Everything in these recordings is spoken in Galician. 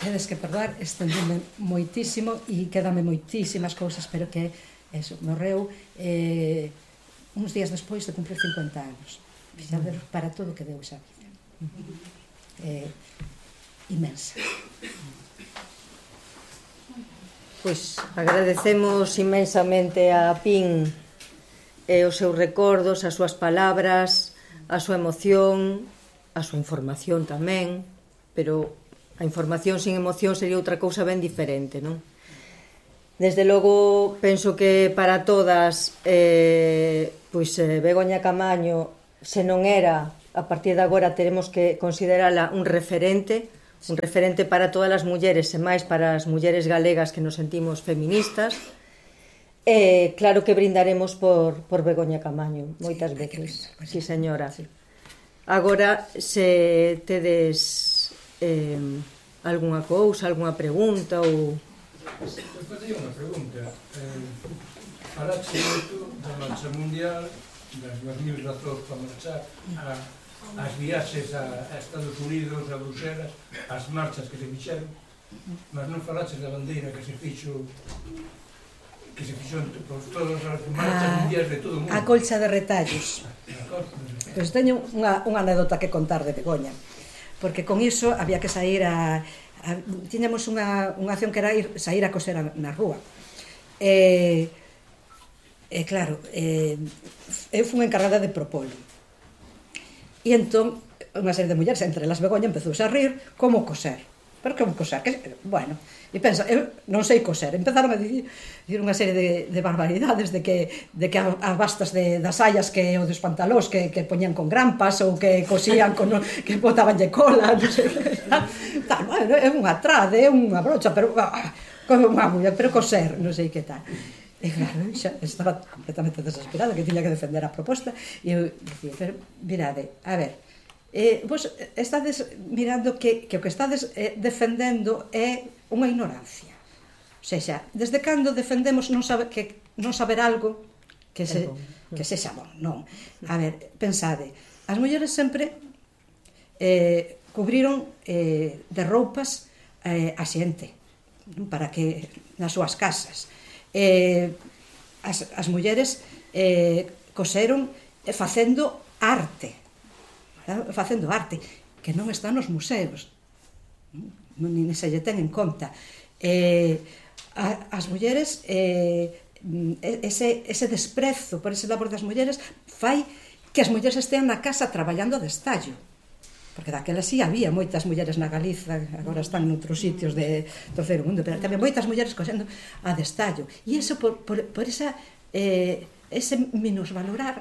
tedes que perdoar, estendime moitísimo e quedame moitísimas cousas, pero que eso, morreu uns días despois de cumprir 50 anos. Fixaderos para todo o que deu esa vida. Inmensa. Pois agradecemos inmensamente a Pin os seus recordos, as súas palabras, a súa emoción, a súa información tamén, pero a información sin emoción sería outra cousa ben diferente, non? Desde logo, penso que para todas, Begoña Camaño, se non era, a partir de agora teremos que considerala un referente para todas as mulleres e máis para as mulleres galegas que nos sentimos feministas. Claro que brindaremos por Begoña Camaño, moitas veces. Sí, señora. Agora, se tedes algunha cousa, algunha pregunta ou... Eu facía unha pregunta. Falaxe moito da marcha mundial, das 2.000 razóns para marchar, as viaxes a Estados Unidos, a Bruselas, as marchas que se fixeron, mas non falaches da bandeira que se fixo por todas as marchas mundiais de todo o mundo. A colcha de retallos. Pois teño unha anécdota que contar de Begoña, porque con iso había que sair tiñamos unha acción que era sair a coser na rúa. Claro, eu fui encargada de propolo. E entón, unha serie de mulleres, entre las Begoña, empezou a rir como coser. Pero como coser? Bueno, e pensa, eu non sei coser. Empezaron a dicir unha serie de barbaridades de que as bastas das saias que o dos pantalós que poñían con grampas ou que cosían que botabanlle cola, non sei. Bueno, é unha trade, é unha brocha, pero como unha muller, pero coser, non sei que tal. E claro, xa estaba completamente desesperada, que tiña que defender a proposta, e eu dicía, pero mirade, a ver, vos estades mirando que o que estades defendendo é unha ignorancia. O sea, desde cando defendemos non saber algo que sexa bon, non. A ver, pensade, as mulleres sempre cubriron de roupas a xente, para que nas súas casas. As mulleres coseron facendo arte, que non está nos museos, nin se lle ten en conta. As mulleres, ese desprezo por ese labor das mulleres fai que as mulleres estean na casa traballando de estallo, porque daquela sí había moitas mulleres na Galiza, agora están noutros sitios do terceiro mundo, pero tamén moitas mulleres cosendo a destallo, e iso por ese minusvalorar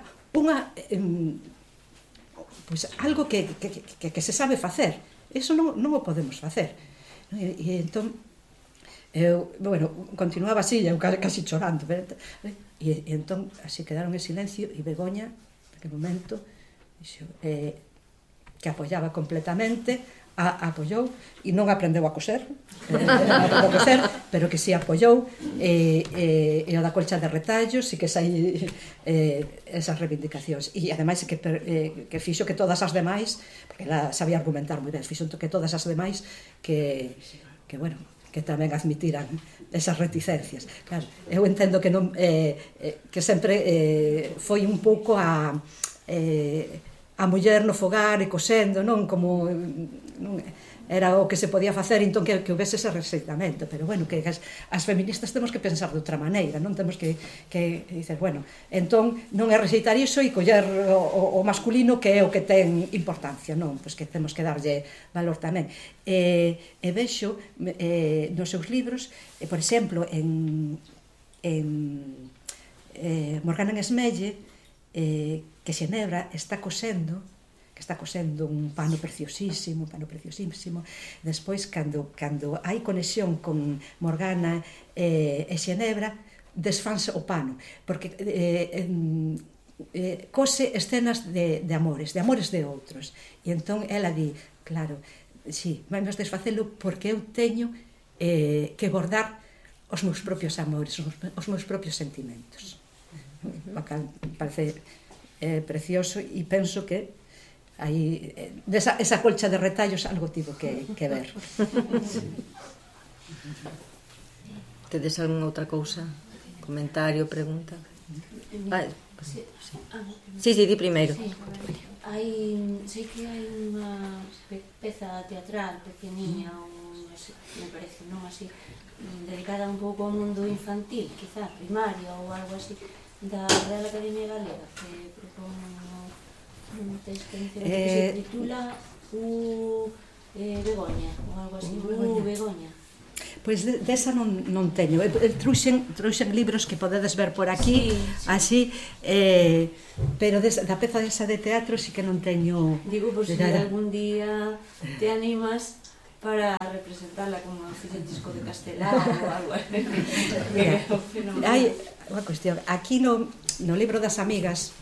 algo que se sabe facer. Iso non o podemos facer. E entón continuaba así, eu casi chorando, e entón así quedaron en silencio, e Begoña naquele momento dixo que apoiaba completamente, apoiou, e non aprendeu a coser, pero que si apoiou, e o da colcha de retallos, e que sai esas reivindicacións. E ademais que fixo que todas as demais, porque ela sabía argumentar moi ben, fixo que todas as demais que tamén admitiran esas reticencias. Claro, eu entendo que non que sempre foi un pouco a muller no fogar e cosendo, non como era o que se podía facer, entón que houvese ese rexeitamento, pero bueno, que as feministas temos que pensar de outra maneira, non temos que dicer, bueno, entón non é rexeitar iso e coller o masculino que é o que ten importancia, non, pois que temos que darlle valor tamén. E vexo nos seus libros, por exemplo, en Morgana Esmelle, que Xenebra está cosendo un pano preciosísimo. Despois, cando hai conexión con Morgana e Xenebra, desfanse o pano, porque cose escenas de amores de outros. E entón ela di, claro, si, vamos desfacelo porque eu teño que bordar os meus propios amores, os meus propios sentimentos. O cal parece precioso, e penso que aí esa colcha de retallos algo tivo que ver. Tedes algunha outra cousa? Comentario, pregunta? Sí, di primeiro. Sei que hai unha peza teatral pequeniña, me parece, non así, dedicada un pouco ao mundo infantil, quizá, primario ou algo así, da Real Academia Galega, que propón un texto que se titula Begoña, ou algo así, Begoña. Pois desa non teño. Trouxen libros que podedes ver por aquí, así, pero da peza desa de teatro sí que non teño. Digo, por se algún día te animas para representarla como fixetisco de Castelao ou algo así. Hai unha cuestión. Aquí no libro das amigas,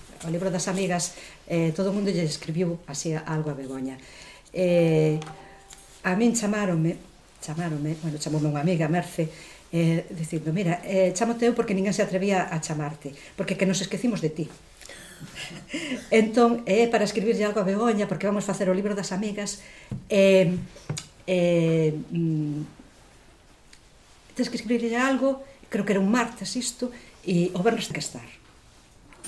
todo o mundo lle escribiu así algo a Begoña. A min chamoume unha amiga, Merce, dicindo, mira, chámote eu porque ninguén se atrevía a chamarte, porque que nos esquecimos de ti. Entón, para escribirlle algo a Begoña, porque vamos facer o libro das amigas, tens que escribirlle algo, creo que era un martes isto, e o vernos que estar.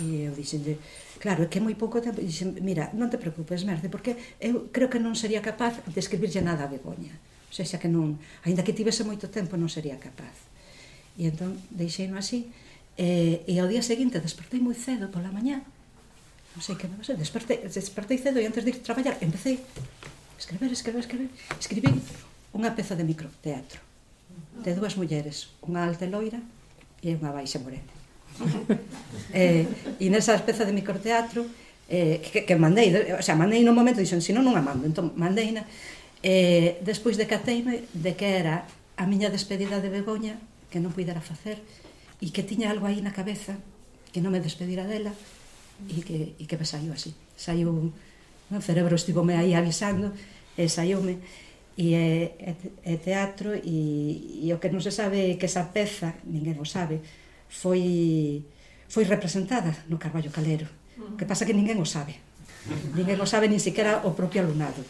E eu dixenlle, claro, é que é moi pouco tempo, e dixen, mira, non te preocupes, Merce, porque eu creo que non sería capaz de escribirlle nada a Begoña. O sea, que non, ainda que tivese moito tempo, non sería capaz. E entón, deixeino así, e ao día seguinte despertei moi cedo pola mañá, non sei que me pasou, despertei cedo e antes de ir a traballar, empecé a escribir, escribí unha peza de microteatro, de dúas mulleres, unha alta e loira e unha baixa morena. E nesa peza de microteatro, que mandei, o sea, mandei no momento, dixen, senón non a mando, entón mandeina, despois decateime de que era a miña despedida de Begoña, que non puidera facer, e que tiña algo aí na cabeza, que non me despedira dela, e que me saiu así. Saiu, o cerebro estivome aí avisando, e saiume, e é teatro, e o que non se sabe que esa peza, ninguén o sabe, foi representada no Carballo Calero. O que pasa que ninguén o sabe. Ninguén o sabe, nin siquiera o propio alumnado.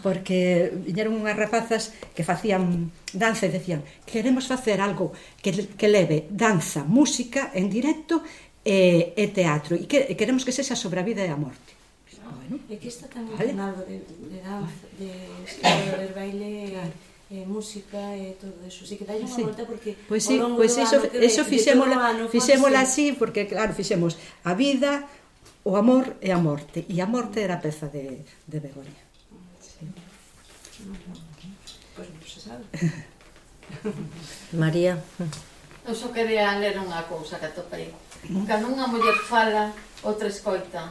Porque viñeron unhas rapazas que facían danza e decían, queremos facer algo que leve danza, música en directo e teatro, e queremos que sexa sobre a vida e a morte. Bueno, é que está tamén con algo de danza, de escribir, baile, música e todo eso. Así que dalle unha volta porque ao longo do ano fixémola así, porque claro, fixemos a vida, o amor e a morte, e a morte era a peza de Begoña. Pois non se sabe. María. Eu só quería ler unha cousa que atopei. Cando unha muller fala, outra escoita.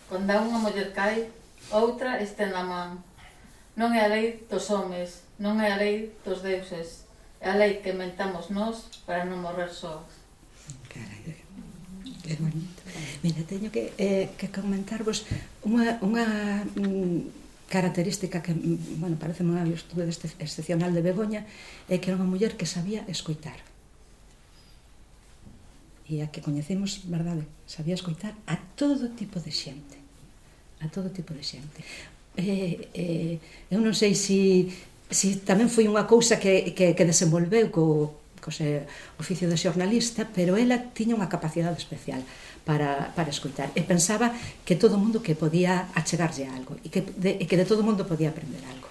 Cando unha muller cae, outra estén na man. Non é a lei dos homes, non é a lei dos deuses. É a lei que inventamos nós para non morrer sós. Carai, que bonito. Mira, teño que comentarvos unha característica que, bueno, parece unha virtude excepcional de Begoña, é que era unha muller que sabía escoitar. E a que coñecemos, verdade, sabía escoitar a todo tipo de xente. A todo tipo de xente. Eu non sei se tamén foi unha cousa que desenvolveu co oficio de xornalista, pero ela tiña unha capacidade especial para escoitar, e pensaba que todo o mundo que podía achegarlle algo, e que de todo o mundo podía aprender algo.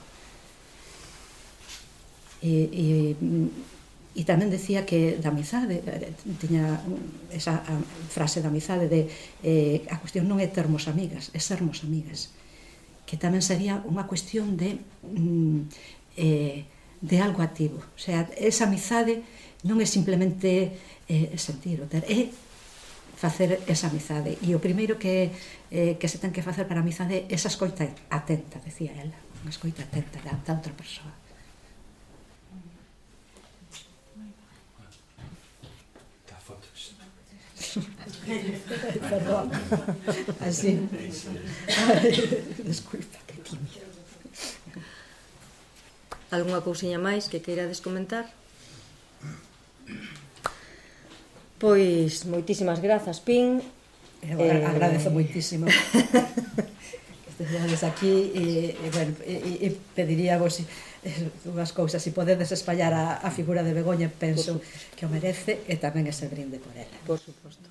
E tamén decía que da amizade, tiña esa frase da amizade de a cuestión non é termos amigas, é sermos amigas, que tamén sería unha cuestión de algo activo. O sea, esa amizade non é simplemente sentir ou ter, é facer esa amizade, e o primeiro que se ten que facer para a amizade é esa escoita atenta, decía ela, unha escoita atenta da outra persoa. Dá fotos. Perdón, así. Desculpa, que tímido. Algunha cousiña máis que queirades comentar? Pois, moitísimas grazas, Pin. Eu agradezo moitísimo Desde aquí, bueno, pediríamos unhas cousas, se podedes espallar a figura de Begoña, penso que o merece, e tamén ese brinde por ela. Por suposto.